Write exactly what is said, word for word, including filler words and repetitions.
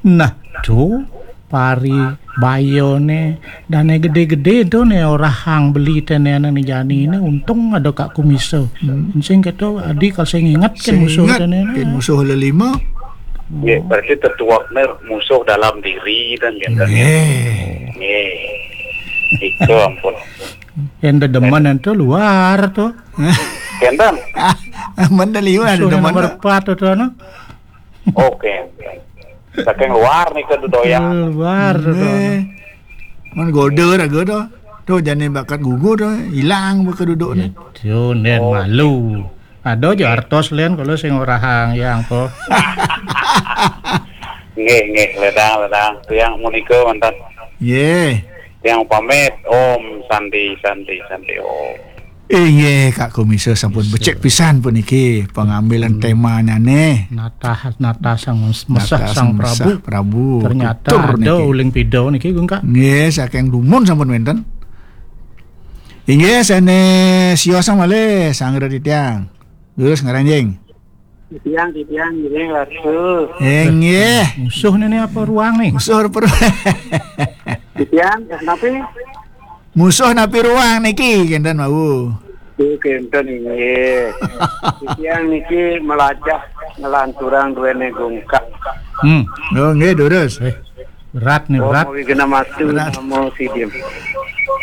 Nah, to paribayané dané gedé-gedé to né orahang beli téné ané jani né, untung ada Kak Kumiso. Sing kéto adi kal sing inget kén musuh téné. Kén musuh lelima. Nggih, berarti tetuekné musuh dalam diri dan gitu. Nggih. Nggih. Itu ampun. Yén dedemen ento luar to. Kénten. Mén liwat ada nomor empat to, no. Oke. Saking luar nih ke dodoyan. Luar to. Mén goda raga to. To jani bakat gugur to, ilang baka dudukné. Yo, nén malu. Ada aja artos lén kalau sing orahang yang ko. Nggih, nggih, ledang, ledang. Tiang munika mantan. Nggih. Tiang pamit. Om Santi, Santi, Santi Om. Inggih, Kak Kumiso sampun becik pisan puniki pengambilan temanya nih. Natah, natah sang mesah sang Prabu. Ternyata ada uling pidau niki, Gung Kak. Nggih, saking dumun sampun wénten. Inggih, sané siosang malih sanggra titiang. Durus ngaranjing. Titiang, titiang, nggih, Ratu. Inggih. Musuh ini apa ruang nih? Musuh apa ruang? Titiang, napi? Musuh napi ruang niki, kénten wau. Nggih, kénten inggih. Titiang niki melajah ngelanturang duwéné Gung Kak. Hmm. Oh, nggih, durus. Eh, berat nih, berat. Om Wignamatu, Namo Siddhim.